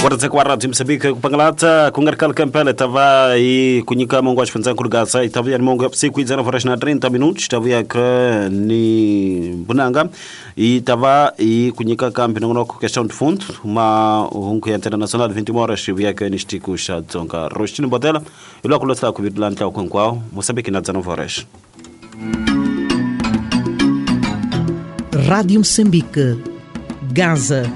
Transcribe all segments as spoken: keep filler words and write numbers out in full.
Kwaradzeka wa Radio Mozambique kupangalata kungarikala kampela tava i kunyika mongo wa xifundzankulu Gaza itavuya ni mongo ya vusiku i horas na trinta minutos tavuya ke ni bunanga itava i kunyika kambi nongonoko questão de fundo uma hungu ya internacional vinte e uma horas vuya ke ni xitiku xa Dzonga Rostino Botela ilwa ku lotsa ku vidula ntlawa hinkwawo Mozambique na dezenove horas. Rádio Moçambique, Gaza.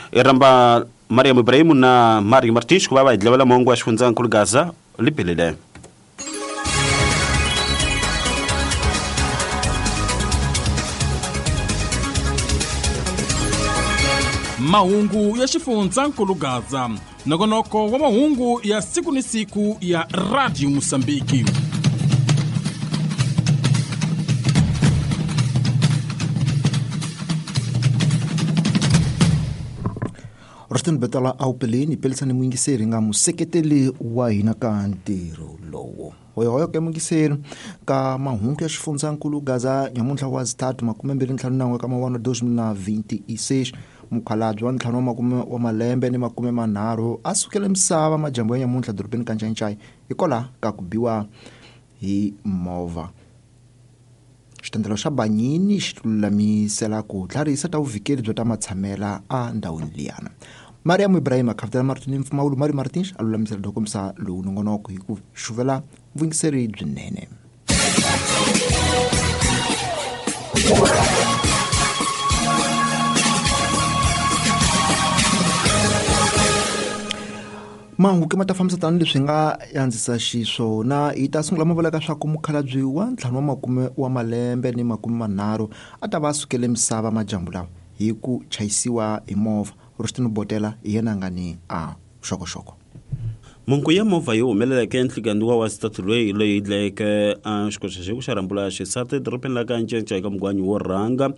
Iramba Mariam Ibrahim na Mário Martins ku va va hi dlevela mongo wa xifundzankulu Gaza liphelile. Mahungu ya xifundzankulu Gaza, nongonoko wa mahungu ya siku ni siku ya Radio Mozambique. Rostin Betala awupeleni pelisani muyingiseri nga museketeli wa hina ka ntirho lowo. Hoyohoyo ke muyingiseri ka mahungu ya xifundzankulu Gaza nyamuntlha wa zitatu makume mbirhi ntlhanu nan'we ka mawano dois mil na vinte e seis mukhalabye wa ntlhanu wa makume wa malembe ni makume manharhu a sukele misava majambu ya nyamuntlha dorobeni ka Ncancai hikwalaho ka ku biwa hi movha. Xitendelo xa Banyini xi lulamisela ku tlharihisa ta vuvikeli byo ta matshamela a ndhawini liyana. Mariam Ibrahim akhavutela Martin Mpfumawulo Mario Martins a lulamisela dokomisa lowu nongonoko hi ku xuvela vuyingiseri byinene. Mahungu ke ma ta fambisa tani leswi nga andzisa xiswona hi ta sungula ma vulaka swa ku mukhalabye wa ntlhanu wa makume wa malembe ni makume manharhu a ta va a sukele misava majambu lawa hi ku chayisiwa hi movha. Rostino Botela hi yena nga ni a xokoxoko. Mungu ya movha yi humeleleke enhlikani wa wa xitatu loyi loyi dlayeke a xikoxa xi ku xa rhambula xisati dorobeni la ka Ncancai ka mugwanyi wo rhanga.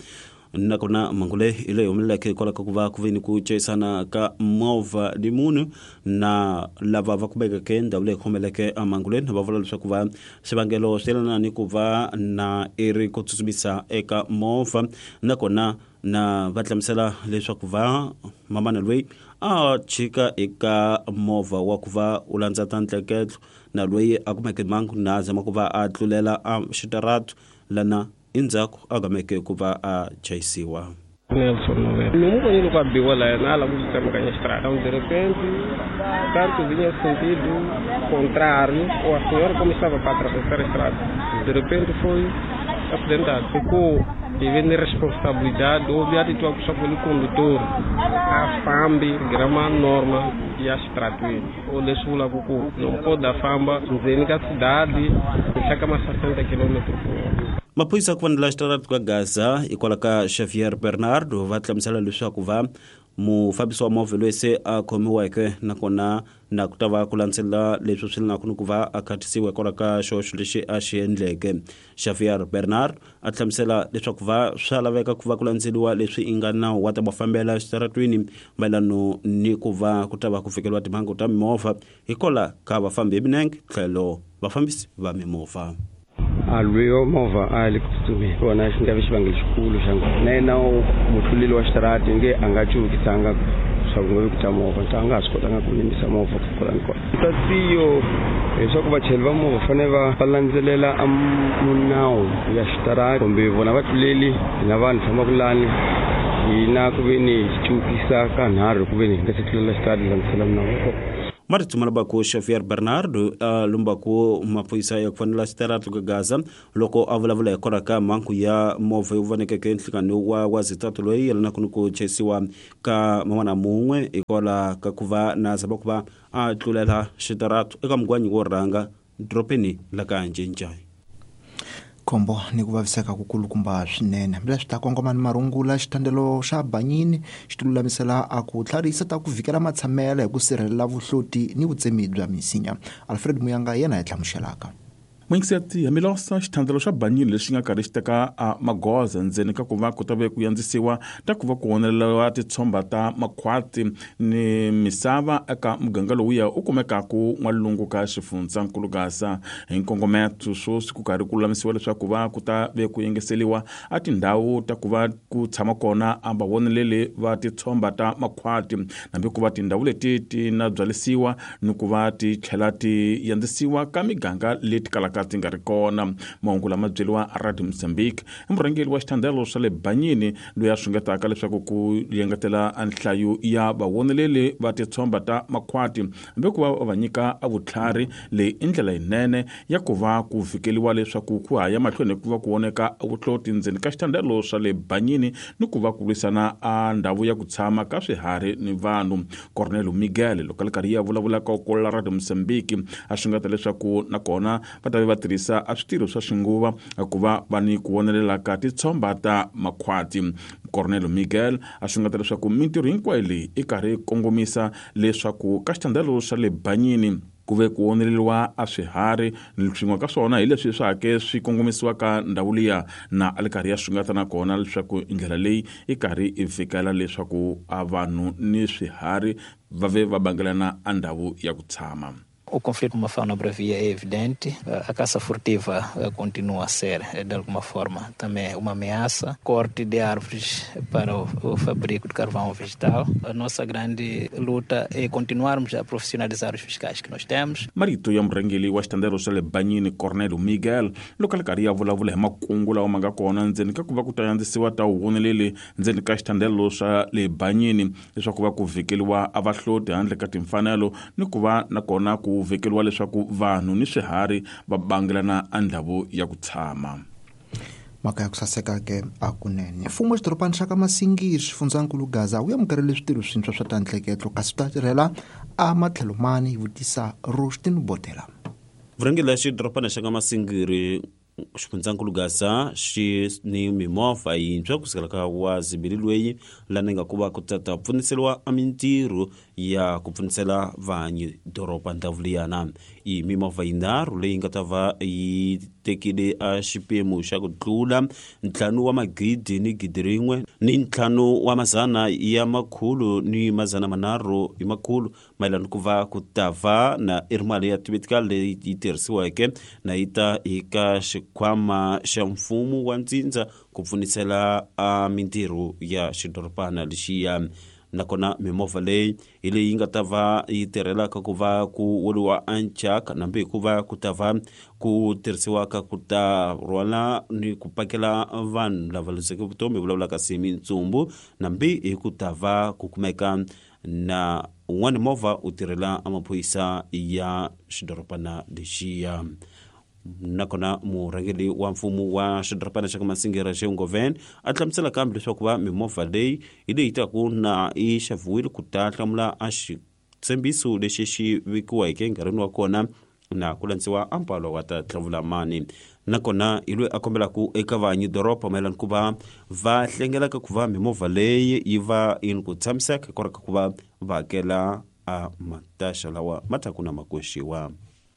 Nakona mhangu leyi hi leyi humeleleke hikwalaho ka ku va ku ve ni ku chayisana ka movha ni munhu na lava va kumekeke ndhawu leyi humeleleke mhangu leyi va vula leswaku va xivangelo swi yelana ni ku va na i ri ku tsutsumisa eka movha nakona na va hlamusela leswaku va mamana loyi a chika eka movha wa ku va u landza ta ntleketlo na loyi a kumeke mhangu na zama ku va a tlulela a xitaratu lana endzhaku a gameke ku va a chayisiwa. Nelson Novela. Não conheço o biwa lá, na lá muito tsemakanya estrada. De repente, tanto vinha sentido contrário, ou a senhora como estava para atravessar a estrada. De repente foi acidentado. Ficou devendo responsabilidade, houve atitude pelo condutor. A fambi, grama norma e a estrada. O lesula kuku, não pode a famba, nzenika cidade, chega mais sessenta quilômetros por hora. Maphorisa ku fanela xitaratu ka Gaza hikwalaho ka Xavier Bernardo va hlamusela leswaku va mufambisi wa movha loyi se a khomiweke nakona na ku ta va ku landzelela leswi swi lenaka ni ku va a khatisiwa hikwalaho ka xihoxo lexi a xi endleke. Xavier Bernard a hlamusela leswaku va swa laveka ku va ku landzeliwa leswi i nga nawu wa ta va fambela xitaratwini mayelano ni ku va ku ta va ku fikeliwa timhangu ta mimovha hikwalaho ka vafambi hi milenge tlhelo vafambisi va mimovha. A lweyo movha a le ku tsutsumeni kona xi nga vi xivangelo xikulu xa na yena mutluleli wa xitarati nge a nga cuvukisanga swa ku nga vi ku ta movha ta nga ha swi kotanga ku yimisa movha ku kwala ni kona. Tatiyo leswaku vachayeri va movha fanele va va landzelela a munawu ya xitarati kumbe vona vatluleli na vanhu fambaka lani hina ku ve ni cuvukisa ka nharhu ku ve ni hi nga se tlulela xitarati hi landzela minawu. Maritsumala baku Xavier Bernardo a lumbaku maphorisa ya ku fanela xitaratu ka Gaza loko a vulavula hikwalaho ka mhangu ya movha yo vonekeke enhlikani wa wa zitatu loyi yelanaka ni ku chayisiwa ka man'wana mun'we hikwalaho ka ku va na zama ku va a tlulela xitaratu eka mugwanyi wo rhanga dorobeni la ka Ncancai. Khombo ni ku vaviseka kukulukumba swinene hambileswi ta kongoma ni marungula xitandelo xa Banyini xi tilulamisela a ku tlharihisa ta ku vhikela matshamelo hi ku sirhelela vuhloti ni vutsemi bya misinya. Alfred Muyanga yena hi hlamuselaka. Mwingiseti Hamilosa xithandelo xa Banyini lexi nga karhi xi teka a magoza ndzeni ka ku va ku ta ve ku yandzisiwa ta ku va ku oneleriwa titshomba ta makhwati ni misava eka muganga lowuya u kumekaku n'walungu ka xifundzankulu Gaza hi nkongometo swoswi ku karhi ku lulamisiwa leswaku va ku ta ve ku yengeseliwa a tindhawu ta ku va ku tshama kona a vavoneleli va titshomba ta makhwati hambi ku va tindhawu leti ti na byalisiwa ni ku va ti tlhela ti yandzisiwa ka miganga leti kalaka ti nga ri kona. Mahungu lama byeriwa Radio Mozambique i murhangeri wa xithandelo swa le Banyini loyi a swingetaka leswaku ku yengetela nhlayo ya vavoneleli va titshomba ta makhwati hambi ku va va nyika a vutlhari leyi i ndlela yinene ya ku va ku fikeliwa leswaku ku haya mahlweni ku va ku voneka vuhloti ndzeni ka xithandelo swa le Banyini ni ku va ku lwisana a ndhawu ya ku tshama ka swiharhi ni vanhu. Cornelio Miguel loko a ri karhi ya vulavula ka ku la Radio Mozambique a swingeta leswaku nakona va ta va tirhisa a switirho swa xinguva ku va va ni ku vonelela ka titshomba ta makhwati. Cornelio Miguel a swingeta leswaku mintirho hinkwayo leyi i karhi kongomisa leswaku ka xithandelo xa le Banyini ku ve ku oneleriwa a swiharhi swin'we ka swona hi leswi swa hake swi kongomisiwaka ndhawu liya na a li karhi ya swingata nakona leswaku ndlela leyi i karhi i fikela leswaku a vanhu ni swiharhi va ve va bangelana a ndhawu ya ku tshama. O conflito com a fauna bravia é evidente, a caça furtiva continua a ser, de alguma forma, também uma ameaça. Corte de árvores para o, o fabrico de carvão vegetal. A nossa grande luta é continuarmos a profissionalizar os fiscais que nós temos. Marito ya murhangeri wa xitandelo xa le Banyini Cornelio Miguel loko a ri karhi ya vulavula hi makungu lawa ma nga kona ndzeni ka ku va ku ta yandzisiwa ta vuvoneleli ndzeni ka xitandelo xa le Banyini leswaku va ku vhikeliwa a vahloti handle ka timfanelo ni ku va nakona ku vekeriwa leswaku vanhu ni swiharhi va bangelana a ndhawu ya ku tshama. Mhaka ya ku saseka ke a kunene. Mfumo wa xidorobana xa ka Masingiri xifundzankulu Gaza wu amukerile switirho swintshwa swa ta ntleketlo kasi swi ta tirhela a matlhelo mani, vutisa Rostin Botela. Vurhangeri la xidorobana xa ka Masingiri xifundzankulu Gaza xi ni mimovha yintshwa kusukela ka wa zibili loyi lani nga ku va ku tata pfuniseriwa a mintirho ya ku pfunisela vanyi doroba ndhawu liyana. I mimovha yinharhu leyi nga ta va yi tekile a xiphemu xa ku tlula ntlhanu wa magidi ni gidi rin'we ni ntlhanu wa mazana ya makhulu ni mazana manharhu hi makhulu mayelana ku va ku ta va na i ri mali ya tivitika leyi yi tirhisiweke na yi ta eka xikhwama xa mfumo wa ntsindza ku pfunisela a mintirho ya xidorobana lexiya. Nakona mimovha leyi hi leyi nga ta va yi tirhelaka ku va ku woliwa anchaka nambi ku va ku ta va ku tirhisiwaka ku ta rhwala ni ku pakela vanhu lava luzeke vutomi vulavulaka si mintsumbu nambi hi ku ta va ku kumeka na un'wana movha u tirhela amaphorisa ya xidorobana lexiya. Nakona murhangeri wa mfumo wa xidorobana xa ka Masingiri Xengoven a hlamusela kambe leswaku va mimovha leyi hi leyi taku na yi xaviwile ku ta hlamula a xitshembiso lexi xi vekiweke enkarhini wa kona na ku landziwa ampalo wa ta tlhavula mani. Nakona hi loyi a kombelaku eka vanyi doroba mayelana ku va va hlengelaka ku va mimovha leyi yi va yi ni ku tshamiseka hikwalaho ka ku va va hakela a mataxa lawa ma taku na makoxiwa.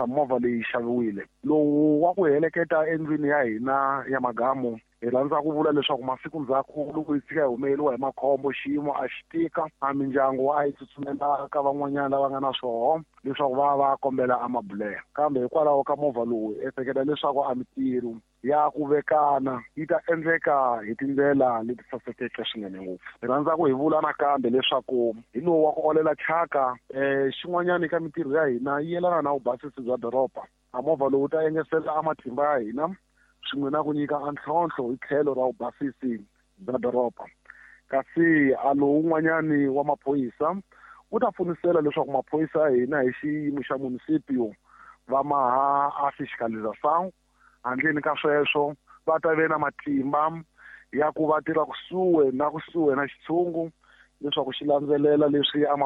Movha leyi xaviwile lowu wa ku heleketa endlwini ya hina ya magamu hi rhandza ku vula leswaku masiku ndzhaku loko yi tshika hi humeleriwa hi makhombo xiyimo a xi tika a mindyangu a yi tsutsumela ka van'wanyana lava nga na swoho leswaku va va kombela amabulela kambe hikwalaho ka movha lowu ehleketa leswaku a mintirho ya ku vekana yi ta endleka hi tindlela leti sasekeke swinene ngopfu. Hi rhandza ku hi vula nakambe leswaku hi lowu wa ku olela thyaka um xin'wanyana eka mintirho ya hina yi yelana na vubasisi bya doroba. A movha lowu ta engetela a matimba ya hina swin'we na ku nyika a ntlhontlho hi tlhelo ra vubasisi bya doroba. Kasi a lowun'wanyani wa maphorisa wu ta pfunisela leswaku maphorisa ya hina hi xiyimo xa munisipio va maha a fiscalização handleni ka sweswo va ta ve na matimba ya ku va tirha kusuhi na kusuhi na xitshungu leswaku xi landzelela leswi a